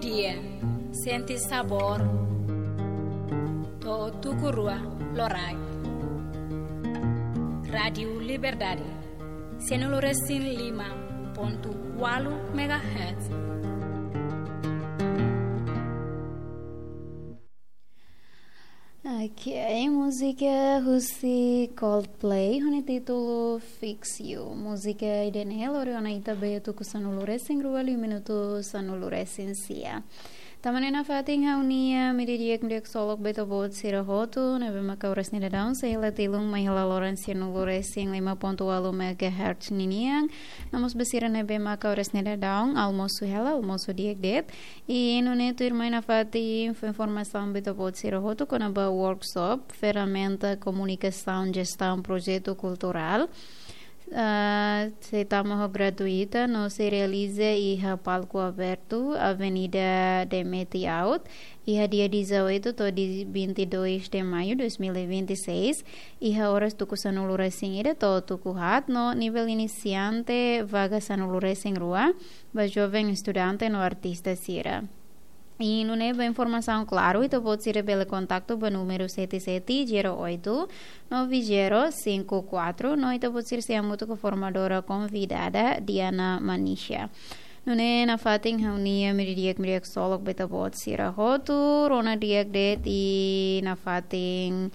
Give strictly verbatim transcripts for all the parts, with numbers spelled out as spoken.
Dia, sente sabór. To'o tuku rua loraik. Rádiu Liberdade, sianulu resin lima pontu ualu megahertz. Ok, múzika husi Coldplay, ho nia títulu Fix You. Múzika ida-ne'e lori ona ita ba iha tuku sanulu resin rua liu minutu sanulu resin sia. Tanba ne'e nafatin ha'u-nia meiudia di'ak, meiudia ksolok ba ita-boot sira hotu, ne'ebé maka oras ne'e daudaun sei hela tilun mai hela loron sianulu resin lima pontu ualu megahertz ninian. No mós ba sira ne'ebé maka oras ne'e daudaun almosu hela, almosu di'ak de'it. I nune'e tuirmai nafatin fó informasaun ba ita-boot sira hotu kona-ba workshop, ferramenta komunikasaun jestaun projetu kulturál. Ah, sei tama ho gratuita, no sei realiza iha palku abertu, Avenida Demeti Aut, iha dia dezoito to'o dia vinte e dois de maio dois mil e vinte e seis, iha oras tuku sanulu resin ida to'o tuku haat, no nivel inisiante vaga sanulu resin rua, ba joven estudante no artista sira. I nune'e ba informasaun klaru, ita-boot sira bele kontaktu ba númeru sete sete zero oito nove zero cinco quatro, no ita-boot sira sei hamutuk ho formadora konvidada Diana Manisha. Nune'e nafatin ha'u-nia meiudia di'ak, meiudia ksolok ba ita-boot sira hotu, rona di'ak de'it i nafatin,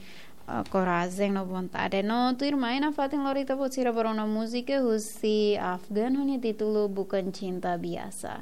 ah, korajen no vontade. No tuirmai nafatin lori ita-boot sira ba rona múzika husi Afgan ho nia títulu Bukan Cinta Biasa.